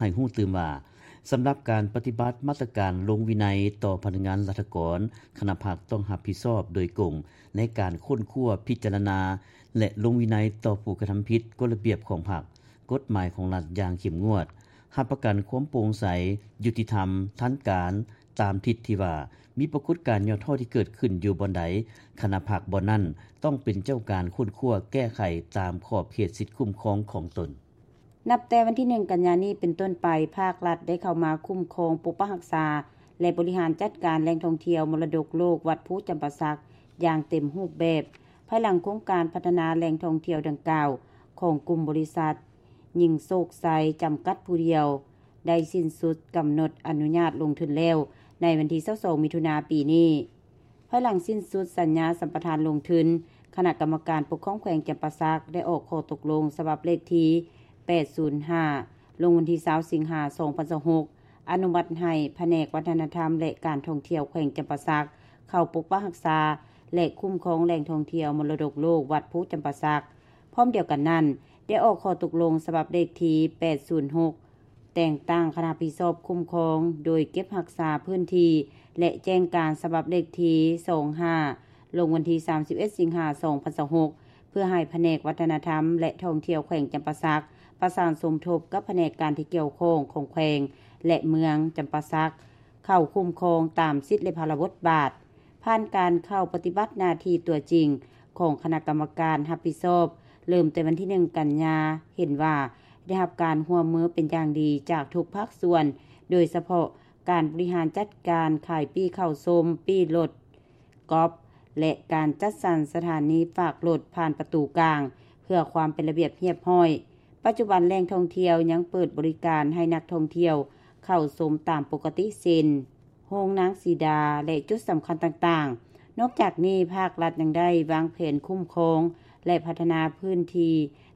ໃຫ້ຮູ້ຕື່ມວ່າ ສຳລັບການປະຕິບັດມາດຕະການລົງວິໄນຕໍ່ພະນັກງານລັດຖະກອນ, ຄະນະພັກຕ້ອງຮັບຜິດຊອບໂດຍກົງໃນການຄົ້ນຄວ້າ, ພິຈາລະນາ ແລະ ລົງວິໄນຕໍ່ຜູ້ກະທຳຜິດກົດລະບຽບຂອງພັກ, ກົດໝາຍຂອງລັດຢ່າງເຂັ້ມງວດ, ຮັບປະກັນຄວາມໂປ່ງໃສ, ຍຸຕິທຳ, ທັນການ, ຕາມທິດທີ່ວ່າມີປາກົດການຫຍໍ້ທໍ້ທີ່ເກີດຂຶ້ນຢູ່ບ່ອນໃດ, ຄະນະພັກບ່ອນນັ້ນຕ້ອງເປັນເຈົ້າການຄົ້ນຄວ້າແກ້ໄຂຕາມຂອບເຂດສິດຄຸ້ມຄອງຂອງຕົນ. ນັບແຕ່ວັນທີໜຶ່ງ ກັນຍານີ້ເປັນຕົ້ນໄປ, ພາກລັດໄດ້ເຂົ້າມາຄຸ້ມຄອງ, ປົກປັກຮັກສາ ແລະ ບໍລິຫານຈັດການແຫຼ່ງທ່ອງທ່ຽວມໍລະດົກໂລກວັດພູຈຳປາສັກຢ່າງເຕັມຮູບແບບ, ພາຍຫຼັງໂຄງການພັດທະນາແຫຼ່ງທ່ອງທ່ຽວດັ່ງກ່າວ ຂອງກຸ່ມບໍລິສັດ ຍິ່ງໂຊກໄຊ ຈຳກັດຜູ້ດຽວ ໄດ້ສິ້ນສຸດກຳນົດອະນຸຍາດລົງທຶນແລ້ວ ໃນວັນທີຊາວສອງ ມິຖຸນາ ປີນີ້. ພາຍຫຼັງສິ້ນສຸດສັນຍາສຳປະທານລົງທຶນ, ຄະນະກຳມະການປົກຄອງແຂວງຈຳປາສັກ ໄດ້ອອກຂໍ້ຕົກລົງສະບັບເລກທີ ແປດສູນຫ້າ ລົງວັນທີຊາວ ສິງຫາ ສອງພັນຊາວຫົກ ອະນຸມັດໃຫ້ພະແນກວັດທະນະທຳ ແລະ ການທ່ອງທ່ຽວແຂວງຈຳປາສັກ ເຂົ້າປົກປັກຮັກສາ ແລະ ຄຸ້ມຄອງແຫຼ່ງທ່ອງທ່ຽວມໍລະດົກໂລກວັດພູຈຳປາສັກ. ພ້ອມດຽວກັນນັ້ນ, ໄດ້ອອກຂໍ້ຕົກລົງສະບັບເລກທີ ແປດສູນຫົກ ແຕ່ງຕັ້ງຄະນະຮັບຜິດຊອບຄຸ້ມຄອງ ໂດຍເກັບຮັກສາພື້ນທີ່ ແລະ ແຈ້ງການສະບັບເລກທີ ສອງຫ້າ ລົງວັນທີ ສາມສິບເອັດ ສິງຫາ ສອງພັນຊາວຫົກ ເພື່ອໃຫ້ພະແນກວັດທະນະທຳ ແລະ ທ່ອງທ່ຽວແຂວງຈຳປາສັກ ປະສານສົມທົບກັບພະແນກການທີ່ກ່ຽວຂ້ອງຂອງແຂວງ ແລະ ເມືອງຈຳປາສັກ ເຂົ້າຄຸ້ມຄອງຕາມສິດ ແລະ ພາລະບົດບາດ. ຜ່ານການເຂົ້າປະຕິບັດໜ້າທີ່ຕົວຈິງຂອງຄະນະກຳມະການຮັບຜິດຊອບ ເລີ່ມແຕ່ວັນທີໜຶ່ງ ກັນຍາ ເຫັນວ່າໄດ້ຮັບການຮ່ວມມືເປັນຢ່າງດີຈາກທຸກພາກສ່ວນ, ໂດຍສະເພາະການບໍລິຫານຈັດການຂາຍປີ້ເຂົ້າຊົມ, ປີ້ລົດກອບ ແລະ ການຈັດສັນສະຖານີຝາກລົດຜ່ານປະຕູກາງ ເພື່ອຄວາມເປັນລະບຽບຮຽບຮ້ອຍ. ປັດຈຸບັນແຫຼ່ງທ່ອງທ່ຽວຍັງເປີດບໍລິການໃຫ້ນັກທ່ອງທ່ຽວເຂົ້າຊົມຕາມປົກກະຕິ ເຊັ່ນ ໂຮງນາງສີດາ ແລະ ຈຸດສຳຄັນຕ່າງໆ. ນອກຈາກນີ້, ພາກລັດຍັງໄດ້ວາງແຜນຄຸ້ມຄອງ ແລະ ພັດທະນາພື້ນທີ່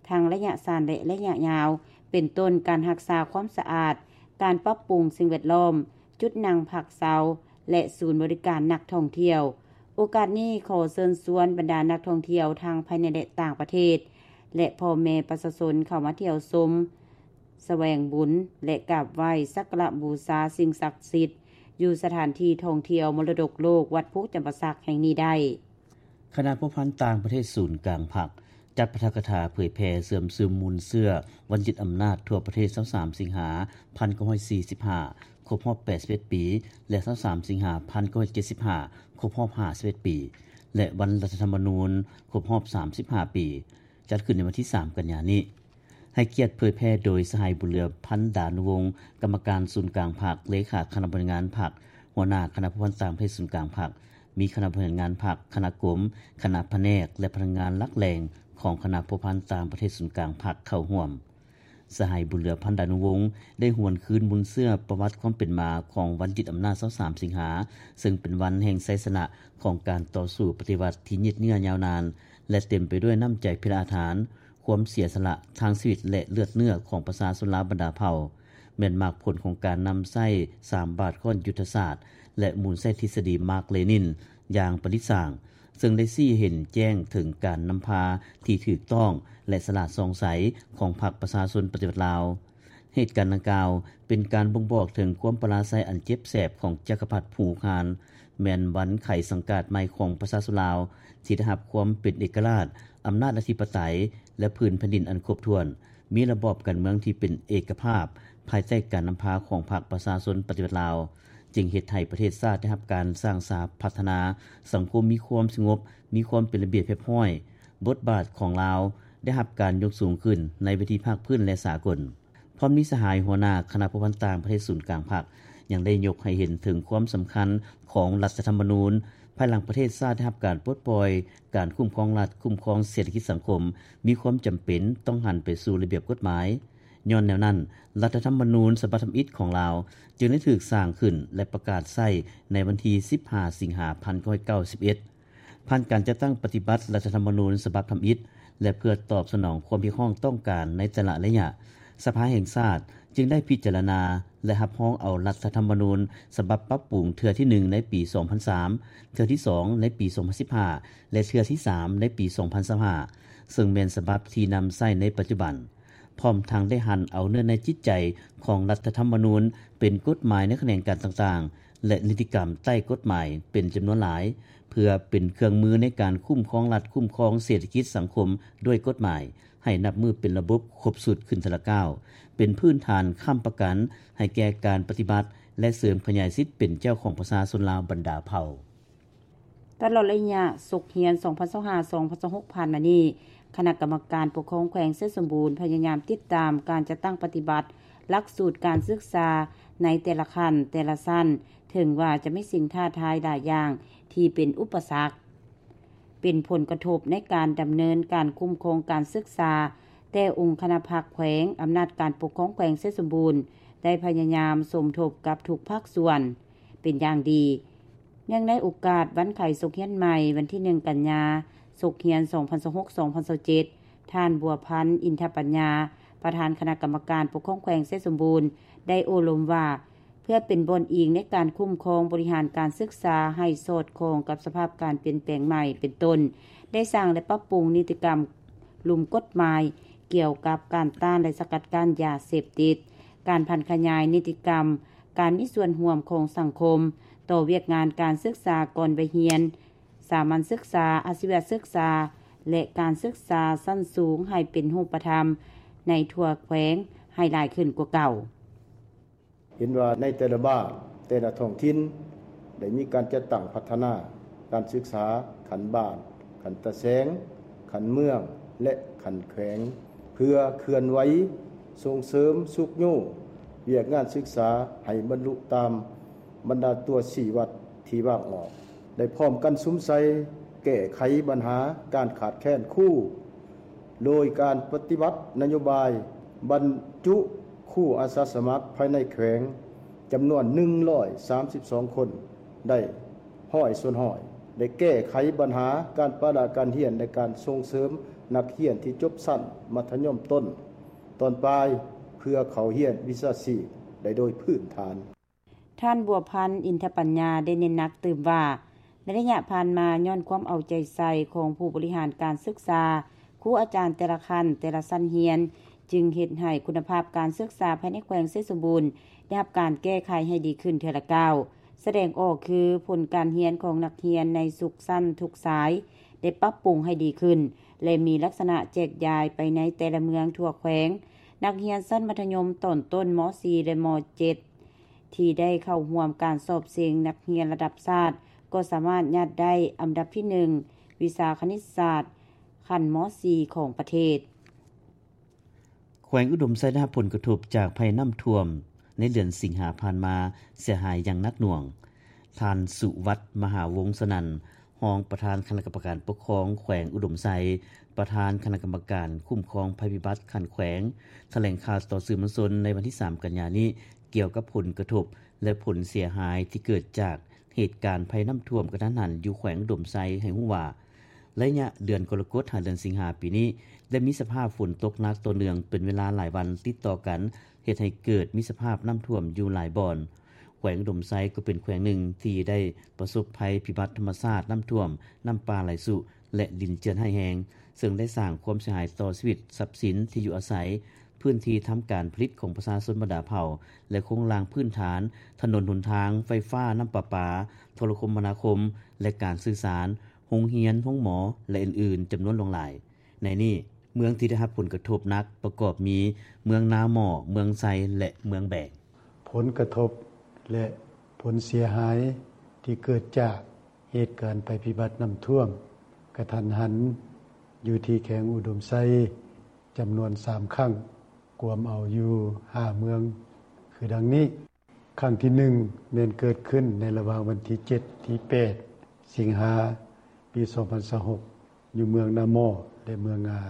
ທັງໄລຍະສັ້ນ ແລະ ໄລຍະຍາວ, ເປັນຕົ້ນການຮັກສາຄວາມສະອາດ, ການປັບປຸງສິ່ງແວດລ້ອມ, ຈຸດນັ່ງພັກເຊົາ ແລະ ສູນບໍລິການນັກທ່ອງທ່ຽວ. ໂອກາດນີ້, ຂໍເຊີນຊວນບັນດານັກທ່ອງທ່ຽວທັງພາຍໃນ ແລະ ຕ່າງປະເທດ ແລະ ພໍ່ແມ່ປະຊາຊົນເຂົ້າມາທ່ຽວຊົມ, ສະແຫວງບຸນ ແລະ ກາບໄຫວ້ສັກກາລະບູຊາສິ່ງສັກສິດ ຢູ່ສະຖານທີ່ທ່ອງທ່ຽວມໍລະດົກໂລກວັດພູຈຳປາສັກແຫ່ງນີ້ໄດ້. ຄະນະພົວພັນຕ່າງປະເທດສູນກາງພັກ ຈັດປາຖະກະຖາເຜີຍແຜ່ເຊື່ອມຊຶມມູນເຊື້ອວັນຍຶດອຳນາດທົ່ວປະເທດ ຊາວສາມ ສິງຫາ ພັນເກົ້າຮ້ອຍສີ່ສິບຫ້າ ຄົບຮອບ ແປດສິບເອັດ ປີ ແລະ ຊາວສາມ ສິງຫາ ພັນເກົ້າຮ້ອຍເຈັດສິບຫ້າ ຄົບຮອບ ຫ້າສິບເອັດ ປີ ແລະ ວັນລັດຖະທຳມະນູນຄົບຮອບ ສາມສິບຫ້າ ປີ ຈັດຂຶ້ນໃນວັນທີສາມ ກັນຍານີ້. ໃຫ້ກຽດເຜີຍແຜ່ໂດຍ ສະຫາຍ ບຸນເຫຼືອ ພັນດານຸວົງ ກຳມະການສູນກາງພັກ, ເລຂາຄະນະບໍລິຫານງານພັກ, ຫົວໜ້າຄະນະພົວພັນຕ່າງປະເທດສູນກາງພັກ, ມີຄະນະບໍລິຫານງານພັກ, ຄະນະກົມ, ຄະນະພະແນກ ແລະ ພະນັກງານຫຼັກແຫຼ່ງຂອງຄະນະພົວພັນຕ່າງປະເທດສູນກາງພັກເຂົ້າຮ່ວມ. ສະຫາຍ ບຸນເຫຼືອ ພັນດານຸວົງ ໄດ້ຫວນຄືນມູນເຊື້ອປະຫວັດຄວາມເປັນມາຂອງວັນຍຶດອຳນາດ ຊາວສາມ ສິງຫາ ເຊິ່ງເປັນວັນແຫ່ງໄຊຊະນະຂອງການຕໍ່ສູ້ປະຕິວັດທີ່ຍືດເຍື້ອຍາວນານ ແລະ ເຕັມໄປດ້ວຍນ້ຳໃຈພິລະອາທານ, ຄວາມເສຍສະຫຼະທາງຊີວິດ ແລະ ເລືອດເນື້ອຂອງປະຊາຊົນລາວບັນດາເຜົ່າ ແມ່ນໝາກຜົນຂອງການນຳໃຊ້ສາມບາດຄ້ອນຍຸດທະສາດ ແລະ ໝູນໃຊ້ທິດສະດີມາກເລນິນຢ່າງປະລິດສ້າງ, ເຊິ່ງໄດ້ຊີ້ໃຫ້ເຫັນແຈ້ງເຖິງການນຳພາທີ່ຖືກຕ້ອງ ແລະ ສະຫຼາດສ່ອງໃສຂອງພັກປະຊາຊົນປະຕິວັດລາວ. ເຫດການດັ່ງກ່າວເປັນການບົ່ງບອກເຖິງຄວາມປະລາໄຊອັນເຈັບແສບຂອງຈັກກະພັດພູຄານ, ແມ່ນວັນໄຂສັງກາດໃໝ່ຂອງປະຊາຊົນລາວ ທີ່ໄດ້ຮັບຄວາມເປັນເອກະລາດ, ອຳນາດອະທິປະໄຕ ແລະ ພື້ນແຜ່ນດິນອັນຄົບຖ້ວນ, ມີລະບອບການເມືອງທີ່ເປັນເອກະພາບ ພາຍໃຕ້ການນຳພາຂອງພັກປະຊາຊົນປະຕິວັດລາວ, ຈຶ່ງເຮັດໃຫ້ປະເທດຊາດໄດ້ຮັບການສ້າງສາພັດທະນາ, ສັງຄົມມີຄວາມສະຫງົບ, ມີຄວາມເປັນລະບຽບຮຽບຮ້ອຍ, ບົດບາດຂອງລາວໄດ້ຮັບການຍົກສູງຂຶ້ນໃນເວທີພາກພື້ນ ແລະ ສາກົນ. ພ້ອມນີ້ ສະຫາຍຫົວໜ້າຄະນະພົວພັນຕ່າງປະເທດສູນກາງພັກ ຍັງໄດ້ຍົກໃຫ້ເຫັນເຖິງຄວາມສຳຄັນຂອງລັດຖະທຳມະນູນ ພາຍຫຼັງປະເທດຊາດໄດ້ຮັບການປົດປ່ອຍ, ການຄຸ້ມຄອງລັດ, ຄຸ້ມຄອງເສດຖະກິດສັງຄົມ ມີຄວາມຈຳເປັນຕ້ອງຫັນໄປສູ່ລະບຽບກົດໝາຍ. ຍ້ອນແນວນັ້ນ, ລັດຖະທຳມະນູນສະບັບທຳອິດຂອງລາວ ຈຶ່ງໄດ້ຖືກສ້າງຂຶ້ນ ແລະ ປະກາດໃຊ້ໃນວັນທີສິບຫ້າ ສິງຫາ ພັນເກົ້າຮ້ອຍເກົ້າສິບເອັດ. ຜ່ານການຈັດຕັ້ງປະຕິບັດລັດຖະທຳມະນູນສະບັບທຳອິດ ແລະ ເພື່ອຕອບສະໜອງຄວາມຮຽກຮ້ອງຕ້ອງການໃນແຕ່ລະໄລຍະ, ສະພາແຫ່ງຊາດຈຶ່ງໄດ້ພິຈາລະນາ ແລະ ຮັບຮອງເອົາລັດຖະທຳມະນູນສະບັບປັບປຸງເທື່ອທີໜຶ່ງໃນປີສອງພັນສາມ, ເທື່ອທີສອງໃນປີສອງພັນສິບຫ້າ ແລະ ເທື່ອທີສາມໃນປີສອງພັນຊາວຫ້າ ເຊິ່ງແມ່ນສະບັບທີ່ນຳໃຊ້ໃນປັດຈຸບັນ. ພ້ອມທັງໄດ້ຫັນເອົາເນື້ອໃນຈິດໃຈຂອງລັດຖະທຳມະນູນ ເປັນກົດໝາຍໃນຂະແໜງການຕ່າງໆ ແລະ ນິຕິກຳໃຕ້ກົດໝາຍເປັນຈຳນວນຫຼາຍ ເພື່ອເປັນເຄື່ອງມືໃນການຄຸ້ມຄອງລັດ, ຄຸ້ມຄອງເສດຖະກິດສັງຄົມດ້ວຍກົດໝາຍ ໃຫ້ນັບມື້ເປັນລະບົບຄົບຊຸດຂຶ້ນເທື່ອລະກ້າວ, ເປັນພື້ນຖານຄ້ຳປະກັນໃຫ້ແກ່ການປະຕິບັດ ແລະ ເສີມຂະຫຍາຍສິດເປັນເຈົ້າຂອງປະຊາຊົນລາວບັນດາເຜົ່າ. ຕະຫຼອດໄລຍະສົກຮຽນ ສອງພັນຊາວຫ້າ ສອງພັນຊາວຫົກ ຜ່ານມານີ້, ຄະນະກຳມະການປົກຄອງແຂວງໄຊສົມບູນພະຍາຍາມຕິດຕາມການຈັດຕັ້ງປະຕິບັດຫຼັກສູດການສຶກສາໃນແຕ່ລະຂັ້ນແຕ່ລະຊັ້ນ, ເຖິງວ່າຈະມີສິ່ງທ້າທາຍຫຼາຍຢ່າງທີ່ເປັນອຸປະສັກ, ເປັນຜົນກະທົບໃນການດຳເນີນການຄຸ້ມຄອງການສຶກສາ, ແຕ່ອົງຄະນະພັກແຂວງ, ອຳນາດການປົກຄອງແຂວງໄຊສົມບູນ ໄດ້ພະຍາຍາມສົມທົບກັບທຸກພາກສ່ວນເປັນຢ່າງດີ. ເນື່ອງໃນໂອກາດວັນໄຂສົກຮຽນໃໝ່ ວັນທີໜຶ່ງ ກັນຍາ ສົກຮຽນ ສອງພັນຊາວຫົກ ສອງພັນຊາວເຈັດ ທ່ານ ບົວພັນ ອິນທະປັນຍາ ປະທານຄະນະກຳມະການປົກຄອງແຂວງໄຊສົມບູນ ໄດ້ໂອ້ລົມວ່າ ເພື່ອເປັນບ່ອນອີງໃນການຄຸ້ມຄອງບໍລິຫານການສຶກສາໃຫ້ສອດຄ່ອງກັບສະພາບການປ່ຽນແປງໃໝ່ ເປັນຕົ້ນ ໄດ້ສ້າງ ແລະ ປັບປຸງນິຕິກຳ ລຸ່ມກົດໝາຍກ່ຽວກັບການຕ້ານ ແລະ ສະກັດກັ້ນຢາເສບຕິດ, ການຜັນຂະຫຍາຍນິຕິກຳການມີສ່ວນຮ່ວມຂອງສັງຄົມຕໍ່ວຽກງານການສຶກສາກ່ອນໄວຮຽນ, ສາມັນສຶກສາ, ອາຊີວະສຶກສາ ແລະ ການສຶກສາຊັ້ນສູງໃຫ້ເປັນຮູບປະທຳໃນທົ່ວແຂວງໃຫ້ຫຼາຍຂຶ້ນກວ່າເກົ່າ. ເຫັນວ່າໃນແຕ່ລະບ້ານ, ແຕ່ລະທ້ອງຖິ່ນ ໄດ້ມີການຈັດຕັ້ງພັດທະນາການສຶກສາຂັ້ນບ້ານ, ຂັ້ນຕາແສງ, ຂັ້ນເມືອງ ແລະ ຂັ້ນແຂວງ ເພື່ອເຄື່ອນໄຫວສົ່ງເສີມຊຸກຍູ້ວຽກງານສຶກສາໃຫ້ບັນລຸຕາມບັນດາຕົວຊີ້ວັດທີ່ວາງອອກ, ໄດ້ພ້ອມກັນສຸມໃສ່ແກ້ໄຂບັນຫາການຂາດແຄນຄູ ໂດຍການປະຕິບັດນະໂຍບາຍບັນຈຸຄູອາສາສະໝັກພາຍໃນແຂວງ ຈຳນວນໜຶ່ງຮ້ອຍສາມສິບສອງຄົນ ໄດ້ຮ້ອຍສ່ວນຮ້ອຍ, ໄດ້ແກ້ໄຂບັນຫາການປະລະການຮຽນ ແລະ ການສົ່ງເສີມນັກຮຽນທີ່ຈົບຊັ້ນມັດທະຍົມຕົ້ນ, ຕອນປາຍ ເພື່ອເຂົ້າຮຽນວິຊາຊີບໄດ້ໂດຍພື້ນຖານ. ທ່ານ ບົວພັນ ອິນທະປັນຍາ ໄດ້ເນັ້ນໜັກຕື່ມວ່າ ໃນໄລຍະຜ່ານມາ, ຍ້ອນຄວາມເອົາໃຈໃສ່ຂອງຜູ້ບໍລິຫານການສຶກສາ, ຄູອາຈານແຕ່ລະຂັ້ນແຕ່ລະຊັ້ນຮຽນ ຈຶ່ງເຮັດໃຫ້ຄຸນນະພາບການສຶກສາພາຍໃນແຂວງໄຊສົມບູນ ໄດ້ຮັບການແກ້ໄຂໃຫ້ດີຂຶ້ນເທື່ອລະກ້າວ. ສະແດງອອກຄື ຜົນການຮຽນຂອງນັກຮຽນໃນທຸກຊັ້ນທຸກສາຍ ໄດ້ປັບປຸງໃຫ້ດີຂຶ້ນ ແລະ ມີລັກສະນະແຈກຢາຍໄປໃນແຕ່ລະເມືອງທົ່ວແຂວງ. ນັກຮຽນຊັ້ນມັດທະຍົມຕອນຕົ້ນ ມໍສີ່ ແລະ ມໍເຈັດ ທີ່ໄດ້ເຂົ້າຮ່ວມການສອບເສັງນັກຮຽນລະດັບຊາດ ກໍສາມາດຍາດໄດ້ອັນດັບທີໜຶ່ງ ວິຊາຄະນິດສາດ ຂັ້ນ ມໍສີ່ ຂອງປະເທດ. ແຂວງອຸດົມໄຊໄດ້ຮັບຜົນກະທົບຈາກໄພນ້ຳຖ້ວມໃນເດືອນສິງຫາຜ່ານມາ ເສຍຫາຍຢ່າງໜັກໜ່ວງ. ທ່ານ ສຸວັດ ມະຫາວົງສະນັນ ຮອງປະທານຄະນະກຳມະການປົກຄອງແຂວງອຸດົມໄຊ, ປະທານຄະນະກຳມະການຄຸ້ມຄອງໄພພິບັດຂັ້ນແຂວງ ຖະແຫຼງຂ່າວຕໍ່ສື່ມວນຊົນໃນວັນທີສາມ ກັນຍານີ້ ກ່ຽວກັບຜົນກະທົບ ແລະ ຜົນເສຍຫາຍທີ່ເກີດຈາກເຫດການໄພນ້ຳຖ້ວມກະທັນຫັນຢູ່ແຂວງອຸດົມໄຊ ໃຫ້ຮູ້ວ່າ ໄລຍະເດືອນກໍລະກົດ ຫາເດືອນສິງຫາປີນີ້ ໄດ້ມີສະພາບຝົນຕົກໜັກຕໍ່ເນື່ອງເປັນເວລາຫຼາຍວັນຕິດຕໍ່ກັນ ເຮັດໃຫ້ເກີດມີສະພາບນ້ຳຖ້ວມຢູ່ຫຼາຍບ່ອນ. ແຂວງອຸດົມໄຊກໍເປັນແຂວງໜຶ່ງທີ່ໄດ້ປະສົບໄພພິບັດທຳມະຊາດນ້ຳຖ້ວມ, ນ້ຳປ່າໄຫຼຊຸ ແລະ ດິນເຈື່ອນຮ້າຍແຮງ, ເຊິ່ງໄດ້ສ້າງຄວາມເສຍຫາຍຕໍ່ຊີວິດ, ຊັບສິນທີ່ຢູ່ອາໄສ, ພື້ນທີ່ທຳການຜະລິດຂອງປະຊາຊົນບັນດາເຜົ່າ ແລະ ໂຄງລ່າງພື້ນຖານ, ຖະໜົນຫົນທາງ, ໄຟຟ້າ, ນ້ຳປະປາ, ໂທລະຄົມມະນາຄົມ ແລະ ການສື່ສານ, ໂຮງຮຽນ, ໂຮງໝໍ ແລະ ອື່ນໆ ຈຳນວນຫຼວງຫຼາຍ. ໃນນີ້, ເມືອງທີ່ໄດ້ຮັບຜົນກະທົບໜັກປະກອບມີ ເມືອງນາໝໍ້, ເມືອງໄຊ ແລະ ເມືອງແບງ. ຜົນກະທົບ ແລະ ຜົນເສຍຫາຍທີ່ເກີດຈາກເຫດການໄພພິບັດນ້ຳຖ້ວມກະທັນຫັນ ຢູ່ທີ່ແຂວງອຸດົມໄຊ ຈຳນວນສາມຄັ້ງ, ກວມເອົາຢູ່ຫ້າເມືອງ ຄືດັ່ງນີ້. ຄັ້ງທີໜຶ່ງ ແມ່ນເກີດຂຶ້ນໃນລະຫວ່າງວັນທີເຈັດ ທີແປດ ສິງຫາ ປີສອງພັນຊາວຫົກ ຢູ່ເມືອງນາໝໍ້ ແລະ ເມືອງງາ.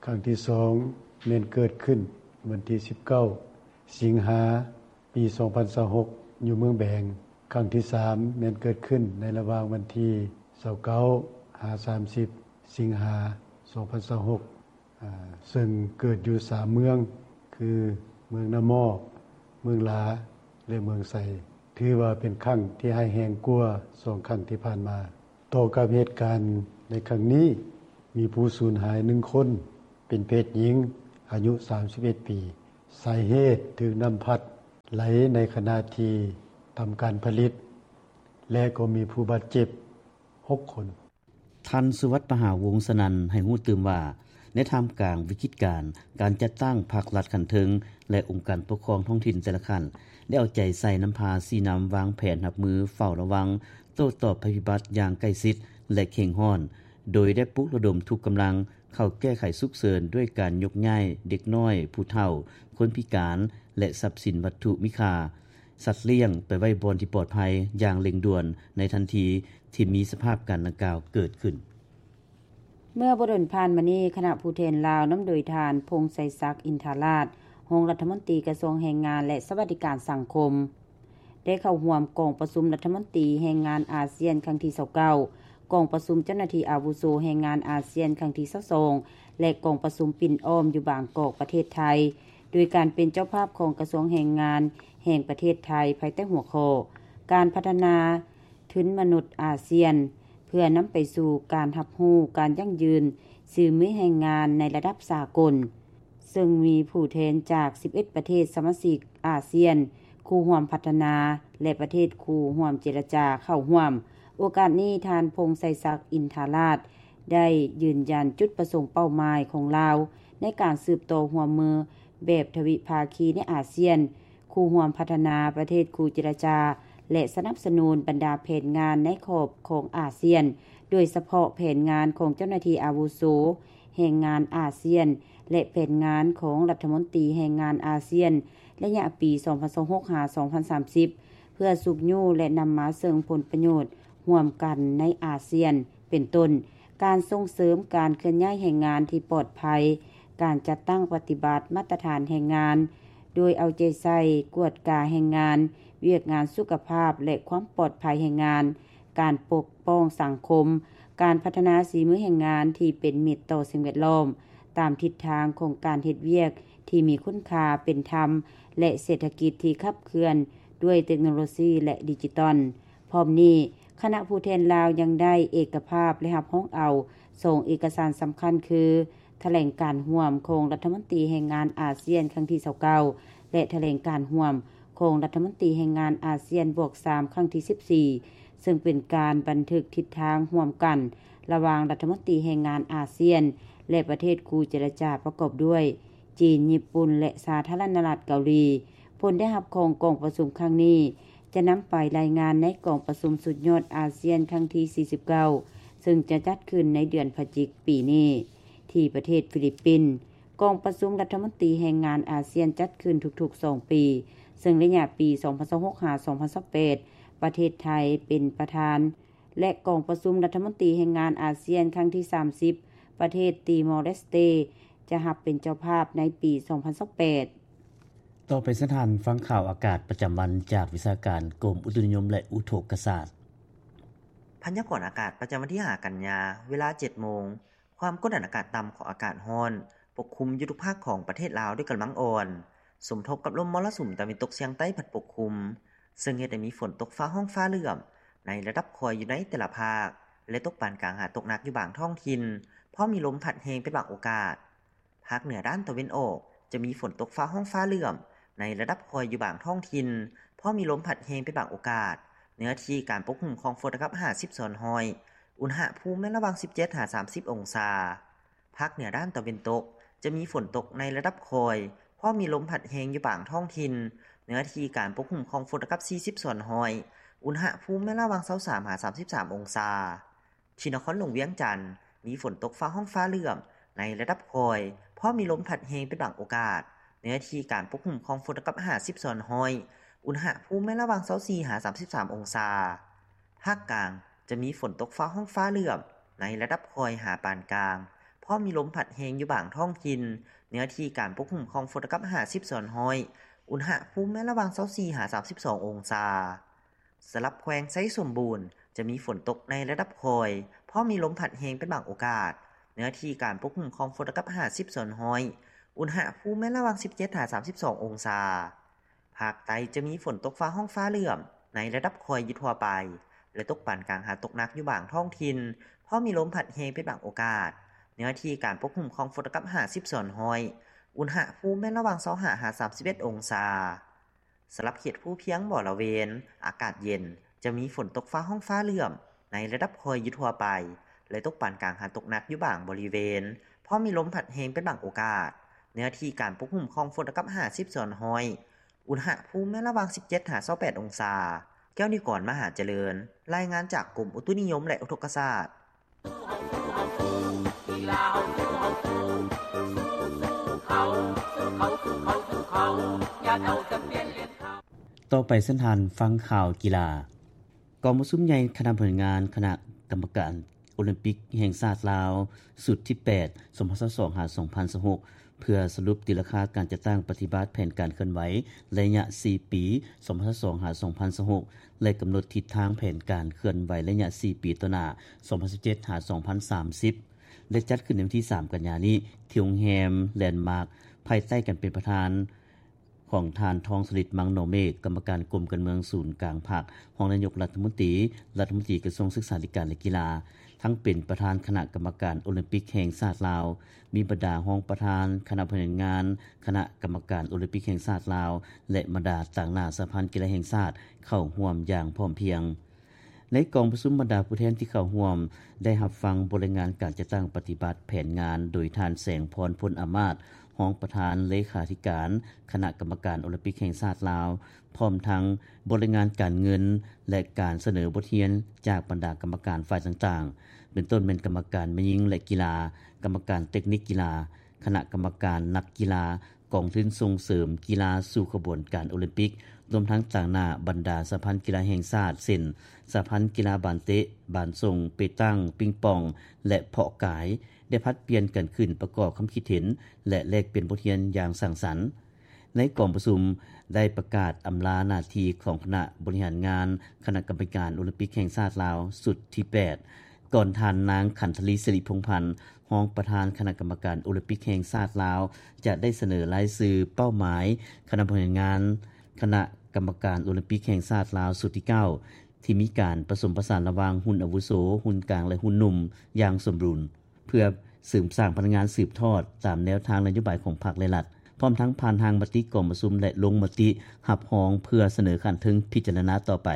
ຄັ້ງທີສອງ ແມ່ນເກີດຂຶ້ນວັນທີສິບເກົ້າ ສິງຫາ ປີສອງພັນຊາວຫົກ ຢູ່ເມືອງແບງ. ຄັ້ງທີສາມ ແມ່ນເກີດຂຶ້ນໃນລະຫວ່າງວັນທີຊາວເກົ້າ ຫາ ສາມສິບ ສິງຫາ ສອງພັນຊາວຫົກ ອາ ເຊິ່ງເກີດຢູ່ສາມເມືອງ ຄື ເມືອງນາໝໍ້, ເມືອງຫຼາ ແລະ ເມືອງໄຊ, ຖືວ່າເປັນຄັ້ງທີ່ຮ້າຍແຮງກວ່າສອງຄັ້ງທີ່ຜ່ານມາ. ຕໍ່ກັບເຫດການໃນຄັ້ງນີ້, ມີຜູ້ສູນຫາຍໜຶ່ງຄົນ ເປັນເພດຍິງ, ອາຍຸ ສາມສິບເອັດ ປີ. ສາເຫດຖືກນ້ຳພັດໄຫຼໃນຂະນະທີ່ທຳການຜະລິດ ແລະ ກໍມີຜູ້ບາດເຈັບ ຫົກ ຄົນ. ທ່ານ ສຸວັດ ປະຫາວົງສະນັນ ໃຫ້ຮູ້ຕື່ມວ່າ ໃນທ່າມກາງວິກິດການ ການຈັດຕັ້ງພັກລັດຂັ້ນເທິງ ແລະ ອົງການປົກຄອງທ້ອງຖິ່ນແຕ່ລະຂັ້ນ ໄດ້ເອົາໃຈໃສ່ນຳພາຊີ້ນຳວາງແຜນຮັບມືເຝົ້າລະວັງ ໂຕ້ຕອບໄພພິບັດຢ່າງໃກ້ຊິດ ແລະ ເຄັ່ງຮ້ອນ, ໂດຍໄດ້ປຸກລະດົມທຸກກຳລັງເຂົ້າແກ້ໄຂສຸກເສີນ ດ້ວຍການຍົກຍ້າຍເດັກນ້ອຍ, ຜູ້ເຖົ້າ, ຄົນພິການ ແລະ ຊັບສິນວັດຖຸມີຄ່າ, ສັດລ້ຽງ ໄປໄວ້ບ່ອນທີ່ປອດໄພຢ່າງເລັ່ງດ່ວນ ໃນທັນທີທີ່ມີສະພາບການດັ່ງກ່າວເກີດຂຶ້ນ. ເມື່ອບໍ່ດົນຜ່ານມານີ້, ຄະນະຜູ້ແທນລາວ ນຳໂດຍທ່ານ ພົງໄຊສັກ ອິນທາລາດ ຮອງລັດຖະມົນຕີກະຊວງແຮງງານ ແລະ ສະຫວັດດີການສັງຄົມ ໄດ້ເຂົ້າຮ່ວມກອງປະຊຸມລັດຖະມົນຕີແຮງງານອາຊຽນຄັ້ງທີຊາວເກົ້າ, ກອງປະຊຸມເຈົ້າໜ້າທີ່ອາວຸໂສແຮງງານອາຊຽນຄັ້ງທີຊາວສອງ ແລະ ກອງປະຊຸມປິ່ນອ້ອມຢູ່ບາງກອກ ປະເທດໄທ, ໂດຍການເປັນເຈົ້າພາບຂອງກະຊວງແຮງງານແຫ່ງປະເທດໄທ ພາຍໃຕ້ຫົວຂໍ້ ການພັດທະນາທຶນມະນຸດອາຊຽນ ເພື່ອນຳໄປສູ່ການຮັບຮູ້ການຢັ້ງຢືນສີມືແຮງງານໃນລະດັບສາກົນ. ເຊິ່ງມີຜູ້ແທນຈາກ ສິບເອັດ ປະເທດສະມາຊິກອາຊຽນ, ຄູ່ຮ່ວມພັດທະນາ ແລະ ປະເທດຄູ່ຮ່ວມເຈລະຈາເຂົ້າຮ່ວມ. ໂອກາດນີ້, ທ່ານ ພົງໄຊສັກ ອິນທາລາດ ໄດ້ຢືນຢັນຈຸດປະສົງເປົ້າໝາຍຂອງລາວ ໃນການສືບຕໍ່ຮ່ວມມືແບບທະວິພາຄີໃນອາຊຽນ, ຄູ່ຮ່ວມພັດທະນາ, ປະເທດຄູ່ເຈລະຈາ ແລະ ສະໜັບສະໜູນບັນດາແຜນງານໃນຂອບຂອງອາຊຽນ, ໂດຍສະເພາະແຜນງານຂອງເຈົ້າໜ້າທີ່ອາວຸໂສແຮງງານອາຊຽນ ແລະ ແຜນງານຂອງລັດຖະມົນຕີແຮງງານອາຊຽນ ໄລຍະປີສອງພັນຊາວຫົກ ຫາ ສອງພັນສາມສິບ ເພື່ອຊຸກຍູ້ ແລະ ນຳມາເຊິ່ງຜົນປະໂຫຍດຮ່ວມກັນໃນອາຊຽນ ເປັນຕົ້ນ ການສົ່ງເສີມການເຄື່ອນຍ້າຍແຮງງານທີ່ປອດໄພ, ການຈັດຕັ້ງປະຕິບັດມາດຕະຖານແຮງງານ ໂດຍເອົາໃຈໃສ່ກວດກາແຮງງານ, ວຽກງານສຸຂະພາບ ແລະ ຄວາມປອດໄພແຮງງານ, ການປົກປ້ອງສັງຄົມ, ການພັດທະນາສີມືແຮງງານທີ່ເປັນມິດຕໍ່ສິ່ງແວດລ້ອມ, ຕາມທິດທາງຂອງການເຮັດວຽກທີ່ມີຄຸນຄ່າ, ເປັນທຳ ແລະ ເສດຖະກິດທີ່ຂັບເຄື່ອນດ້ວຍເຕັກໂນໂລຊີ ແລະ ດິຈິຕອນ. ພ້ອມນີ້, ຄະນະຜູ້ແທນລາວຍັງໄດ້ເອກະພາບ ແລະ ຮັບຮອງເອົາສອງເອກະສານສຳຄັນ ຄື ຖະແຫຼງການຮ່ວມຂອງລັດຖະມົນຕີແຮງງານອາຊຽນຄັ້ງທີຊາວເກົ້າ ແລະ ຖະແຫຼງການຮ່ວມຂອງລັດຖະມົນຕີແຮງງານອາຊຽນບວກສາມຄັ້ງທີສິບສີ່ ເຊິ່ງເປັນການບັນທຶກທິດທາງຮ່ວມກັນລະຫວ່າງລັດຖະມົນຕີແຮງງານອາຊຽນ ແລະ ປະເທດຄູ່ເຈລະຈາປະກອບດ້ວຍ ຈີນ, ຍີ່ປຸ່ນ ແລະ ສາທາລະນະລັດເກົາຫຼີ. ຜົນໄດ້ຮັບຂອງກອງປະຊຸມຄັ້ງນີ້ ຈະນຳໄປລາຍງານໃນກອງປະຊຸມສຸດຍອດອາຊຽນຄັ້ງທີສີ່ສິບເກົ້າ ເຊິ່ງຈະຈັດຂຶ້ນໃນເດືອນພະຈິກປີນີ້ ທີ່ປະເທດຟີລິບປິນ. ກອງປະຊຸມລັດຖະມົນຕີແຮງງານອາຊຽນຈັດຂຶ້ນທຸກໆສອງປີ, ເຊິ່ງໄລຍະປີສອງພັນຊາວຫົກ ຫາ ສອງພັນຊາວແປດ ປະເທດໄທເປັນປະທານ ແລະ ກອງປະຊຸມລັດຖະມົນຕີແຮງງານອາຊຽນຄັ້ງທີສາມສິບ ປະເທດຕີມໍເລສເຕ ຈະຮັບເປັນເຈົ້າພາບໃນປີສອງພັນຊາວແປດ. ຕໍ່ໄປເຊີນທ່ານຟັງຂ່າວອາກາດປະຈຳວັນຈາກວິຊາການກົມອຸຕຸນິຍົມ ແລະ ອຸທົກກະສາດ. ພະຍາກອນອາກາດປະຈຳວັນທີຫ້າກັນຍາ ເວລາເຈັດໂມງ, ຄວາມກົດອາກາດຕ່ຳຂອງອາກາດຮ້ອນປົກຄຸມຢູ່ທຸກພາກຂອງປະເທດລາວດ້ວຍກຳລັງອ່ອນ, ສົມທົບກັບລົມມໍລະສຸມຕາເວັນຕົກສຽງໃຕ້ພັດປົກຄຸມ, ເຊິ່ງເຮັດໃຫ້ມີຝົນຕົກຟ້າຮ້ອງຟ້າເຫຼື້ອມໃນລະດັບຄ່ອຍຢູ່ໃນແຕ່ລະພາກ ແລະ ຕົກປານກາງຫາຕົກໜັກຢູ່ບາງທ້ອງຖິ່ນ, ພ້ອມມີລົມພັດແຮງເປັນບາງໂອກາດ. ພາກເໜືອດ້ານຕາເວັນອອກ ຈະມີຝົນຕົກຟ້າຮ້ອງຟ້າເຫຼື້ອມໃນລະດັບຄ່ອຍຢູ່ບາງທ້ອງຖິ່ນ, ພ້ອມມີລົມພັດແຮງເປັນບາງໂອກາດ, ເນື້ອທີ່ການປົກຄຸມຂອງຝົນລະດັບຫ້າສິບສ່ວນຮ້ອຍ, ອຸນຫະພູມແມ່ນລະຫວ່າງສິບເຈັດຫາສາມສິບອົງສາ. ພາກເໜືອດ້ານຕາເວັນຕົກ ຈະມີຝົນຕົກໃນລະດັບຄ່ອຍ, ພ້ອມມີລົມພັດແຮງຢູ່ບາງທ້ອງຖິ່ນ, ເນື້ອທີ່ການປົກຄຸມຂອງຝົນລະດັບສີ່ສິບສ່ວນຮ້ອຍ, ອຸນຫະພູມແມ່ນລະຫວ່າງຊາວສາມຫາສາມສິບສາມອົງສາ. ທີ່ນະຄອນຫຼວງວຽງຈັນ ມີຝົນຕົກຟ້າຮ້ອງຟ້າເຫຼື້ອມໃນລະດັບຄ່ອຍ, ພ້ອມມີລົມພັດແຮງເປັນບາງໂອກາດ, ເນື້ອທີ່ການປົກຄຸມຂອງຝົນລະດັບຫ້າສິບສ່ວນຮ້ອຍ, ອຸນຫະພູມແມ່ນລະຫວ່າງຊາວສີ່ຫາສາມສິບສາມອົງສາ. ພາກກາງ ຈະມີຝົນຕົກຟ້າຮ້ອງຟ້າເຫຼື້ອມໃນລະດັບຄ່ອຍຫາປານກາງ, ພ້ອມມີລົມພັດແຮງຢູ່ບາງທ້ອງຖິ່ນ, ເນື້ອທີ່ການປົກຄຸມຂອງຝົນລະດັບຫ້າສິບສ່ວນຮ້ອຍ, ອຸນຫະພູມແມ່ນລະຫວ່າງຊາວສີ່ຫາສາມສິບສອງອົງສາ. ສຳລັບແຂວງໄຊສົມບູນ ຈະມີຝົນຕົກໃນລະດັບຄ່ອຍ, ພ້ອມມີລົມພັດແຮງເປັນບາງໂອກາດ, ເນື້ອທີ່ການປົກຄຸມຂອງຝົນລະດັບຫ້າສິບສ່ວນຮ້ອຍ, ອຸນຫະພູມແມ່ນລະຫວ່າງສິບເຈັດຫາສາມສິບສອງອົງສາ. ພາກໃຕ້ຈະມີຝົນຕົກຟ້າຮ້ອງຟ້າເຫຼື້ອມໃນລະດັບຄ່ອຍຢູ່ທົ່ວໄປ ແລະ ຕົກປານກາງຫາຕົກໜັກຢູ່ບາງທ້ອງຖິ່ນ, ພ້ອມມີລົມພັດແຮງເປັນບາງໂອກາດ, ເນື້ອທີ່ການປົກຄຸມຂອງຝົນລະດັບຫ້າສິບສ່ວນຮ້ອຍ, ອຸນຫະພູມແມ່ນລະຫວ່າງຊາວຫ້າຫາສາມສິບເອັດອົງສາ. ສຳລັບເຂດພູພຽງບໍລະເວນ ອາກາດເຢັນ, ຈະມີຝົນຕົກຟ້າຮ້ອງຟ້າເຫຼື້ອມໃນລະດັບຄ່ອຍຢູ່ທົ່ວໄປ ແລະ ຕົກປານກາງຫາຕົກໜັກຢູ່ບາງບໍລິເວນ, ພ້ອມມີລົມພັດແຮງເປັນບາງໂອກາດ. ເນື້ອທີ່ການປົກຫຸ້ມຂອງຝົນເທົ່າກັບຫ້າສິບສ່ວນຮ້ອຍ. ອຸນຫະພູມແມ່ນລະຫວ່າງສິບເຈັດຫາຊາວແປດອົງສາ. ແກ້ວນິວກອນ ມະຫາຈະເລີນ, ລາຍງານຈາກກົມອຸຕຸນິຍົມ ແລະ ອຸທົກກະສາດ. ຕໍ່ໄປເຊີນທ່ານຟັງຂ່າວກິລາ. ກອງປະຊຸມໃຫຍ່ຄະນະບໍລິຫານງານຄະນະກຳມະການໂອລິມປິກແຫ່ງຊາດລາວ ຊຸດທີແປດ ສອງພັນຊາວສອງ ຫາ ສອງພັນຊາວຫົກ ເພື່ອສະຫຼຸບຕີລາຄາການຈັດຕັ້ງປະຕິບັດແຜນການເຄື່ອນໄຫວໄລຍະສີ່ປີ ສອງພັນຊາວສອງ ຫາ ສອງພັນຊາວຫົກ ແລະ ກຳນົດທິດທາງແຜນການເຄື່ອນໄຫວໄລຍະສີ່ປີຕໍ່ໜ້າ ສອງພັນຊາວເຈັດ ຫາ ສອງພັນສາມສິບ ໄດ້ຈັດຂຶ້ນໃນວັນທີສາມ ກັນຍານີ້ ທີ່ໂຮງແຮມແລນມາກ ພາຍໃຕ້ການເປັນປະທານຂອງທ່ານ ທອງສະລິດ ມັງໜໍເມກ ກຳມະການກົມການເມືອງສູນກາງພັກ, ຮອງນາຍົກລັດຖະມົນຕີ, ລັດຖະມົນຕີກະຊວງສຶກສາທິການ ແລະ ກິລາ, ທັງເປັນປະທານຄະນະກຳມະການໂອລິມປິກແຫ່ງຊາດລາວ, ມີບັນດາຮອງປະທານຄະນະບໍລິຫານງານຄະນະກຳມະການໂອລິມປິກແຫ່ງຊາດລາວ ແລະ ບັນດາຕາງໜ້າສະຫະພັນກິລາແຫ່ງຊາດເຂົ້າຮ່ວມຢ່າງພ້ອມພຽງ. ໃນກອງປະຊຸມ, ບັນດາຜູ້ແທນທີ່ເຂົ້າຮ່ວມໄດ້ຮັບຟັງບົດລາຍງານການຈັດຕັ້ງປະຕິບັດແຜນງານໂດຍທ່ານ ແສງພອນ ພົນອາມາດ ຮອງປະທານເລຂາທິການຄະນະກຳມະການໂອລິມປິກແຫ່ງຊາດລາວ, ພ້ອມທັງບົດລາຍງານການເງິນ ແລະ ການສະເໜີບົດຮຽນຈາກບັນດາກຳມະການຝ່າຍຕ່າງໆ ເປັນຕົ້ນແມ່ນກຳມະການແມ່ຍິງ ແລະ ກິລາ, ກຳມະການເຕັກນິກກິລາ, ຄະນະກຳມະການນັກກິລາ, ກອງທຶນສົ່ງເສີມກິລາສູ່ຂະບວນການໂອລິມປິກ, ລວມທັງຕາງໜ້າບັນດາສະຫະພັນກິລາແຫ່ງຊາດ ເຊັ່ນ ສະຫະພັນກິລາບານເຕະ, ບານສົ່ງ, ເປຕັງ, ປິງປອງ ແລະ ເພາະກາຍ ໄດ້ຜັດປ່ຽນກັນຂຶ້ນປະກອບຄຳຄິດເຫັນ ແລະ ແລກປ່ຽນບົດຮຽນຢ່າງສ້າງສັນ. ໃນກອງປະຊຸມໄດ້ປະກາດອຳລາໜ້າທີ່ຂອງຄະນະບໍລິຫານງານຄະນະກຳມະການໂອລິມປິກແຫ່ງຊາດລາວ ຊຸດທີແປດ ກ່ອນທ່ານນາງ ຂັນທະລີ ສິລິພົງພັນ ຮອງປະທານຄະນະກຳມະການໂອລິມປິກແຫ່ງຊາດລາວ ຈະໄດ້ສະເໜີລາຍຊື່ເປົ້າໝາຍຄະນະບໍລິຫານງານຄະນະກຳມະການໂອລິມປິກແຫ່ງຊາດລາວຊຸດທີເກົ້າ ທີ່ມີການປະສົມປະສານລະຫວ່າງຮຸ່ນອາວຸໂສ, ຮຸ່ນກາງ ແລະ ຮຸ່ນໜຸ່ມຢ່າງສົມດຸນ ເພື່ອເສີມສ້າງພະນັກງານສືບທອດຕາມແນວທາງນະໂຍບາຍຂອງພັກ ແລະ ລັດ, ພ້ອມທັງຜ່ານຮ່າງມະຕິກອງປະຊຸມ ແລະ ລົງມະຕິຮັບຮອງເພື່ອສະເໜີຂັ້ນເທິງພິຈາລະນາຕໍ່ໄປ.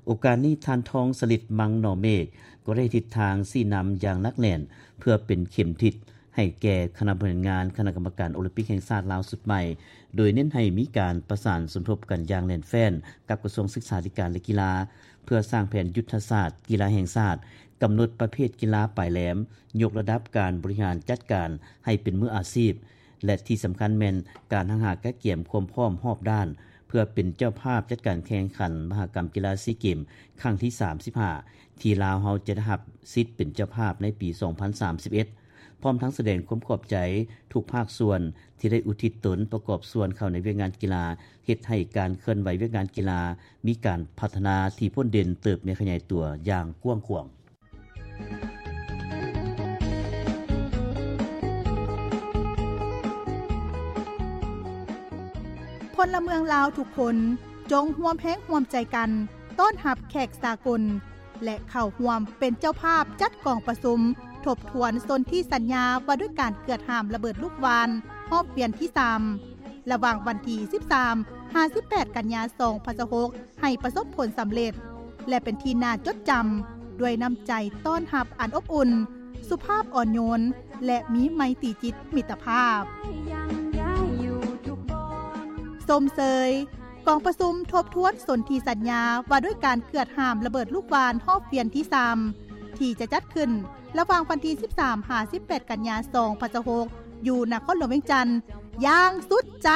ໂອກາດນີ້ ທ່ານ ທອງສະລິດ ມັງໜໍເມກ ກໍໄດ້ທິດທາງຊີ້ນຳຢ່າງໜັກແໜ້ນ ເພື່ອເປັນເຂັມທິດໃຫ້ແກ່ຄະນະບໍລິຫານງານຄະນະກຳມະການໂອລິມປິກແຫ່ງຊາດລາວຊຸດໃໝ່, ໂດຍເນັ້ນໃຫ້ມີການປະສານສົມທົບກັນຢ່າງແໜ້ນແຟ້ນກັບກະຊວງສຶກສາທິການ ແລະ ກິລາ ເພື່ອສ້າງແຜນຍຸດທະສາດກິລາແຫ່ງຊາດ, ກຳນົດປະເພດກິລາປາຍແຫຼມ, ຍົກລະດັບການບໍລິຫານຈັດການໃຫ້ເປັນມືອາຊີບ ແລະ ທີ່ສຳຄັນແມ່ນການຮັກຫາກະກຽມຄວາມພ້ອມຮອບດ້ານ ເພື່ອເປັນເຈົ້າພາບຈັດການແຂ່ງຂັນມະຫະກຳກິລາຊີເກມຄັ້ງທີສາມສິບຫ້າ ທີ່ລາວເຮົາຈະໄດ້ຮັບສິດເປັນເຈົ້າພາບໃນປີສອງພັນສາມສິບເອັດ ພ້ອມທັງສະແດງຄວາມຂອບໃຈທຸກພາກສ່ວນທີ່ໄດ້ອຸທິດຕົນປະກອບສ່ວນເຂົ້າໃນວຽກງານກິລາ, ເຮັດໃຫ້ການເຄື່ອນໄຫວວຽກງານກິລາມີການພັດທະນາທີ່ພົ້ນເດັ່ນເຕີບໃຫຍ່ຂະຫຍາຍຕົວຢ່າງກວ້າງຂວາງ. ພົນລະເມືອງລາວທຸກຄົນ ຈົ່ງຮ່ວມແຮງຮ່ວມໃຈກັນຕ້ອນຮັບແຂກສາກົນ ແລະ ເຂົ້າຮ່ວມເປັນເຈົ້າພາບຈັດກອງປະຊຸມທົບທວນສົນທິສັນຍາວ່າດ້ວຍການເກືອດຫ້າມລະເບີດລູກຫວ່ານຮອບວຽນທີສາມ ລະຫວ່າງວັນທີສິບສາມ ຫາ ສິບແປດ ກັນຍາ ສອງພັນຊາວຫົກ ໃຫ້ປະສົບຜົນສຳເລັດ ແລະ ເປັນທີ່ໜ້າຈົດຈຳ ດ້ວຍນ້ຳໃຈຕ້ອນຮັບອັນອົບອຸ່ນ, ສຸພາບອ່ອນໂຍນ ແລະ ມີໄມຕີຈິດມິດຕະພາບ. ຊົມເຊີຍກອງປະຊຸມທົບທວນສົນທິສັນຍາວ່າດ້ວຍການເກືອດຫ້າມລະເບີດລູກຫວ່ານຮອບວຽນທີສາມ ທີ່ຈະຈັດຂຶ້ນລະຫວ່າງວັນທີສິບສາມ ຫາ ສິບແປດ ກັນຍາ ສອງພັນຊາວຫົກ ຢູ່ນະຄອນຫຼວງວຽງຈັນຢ່າງສຸດໃຈ.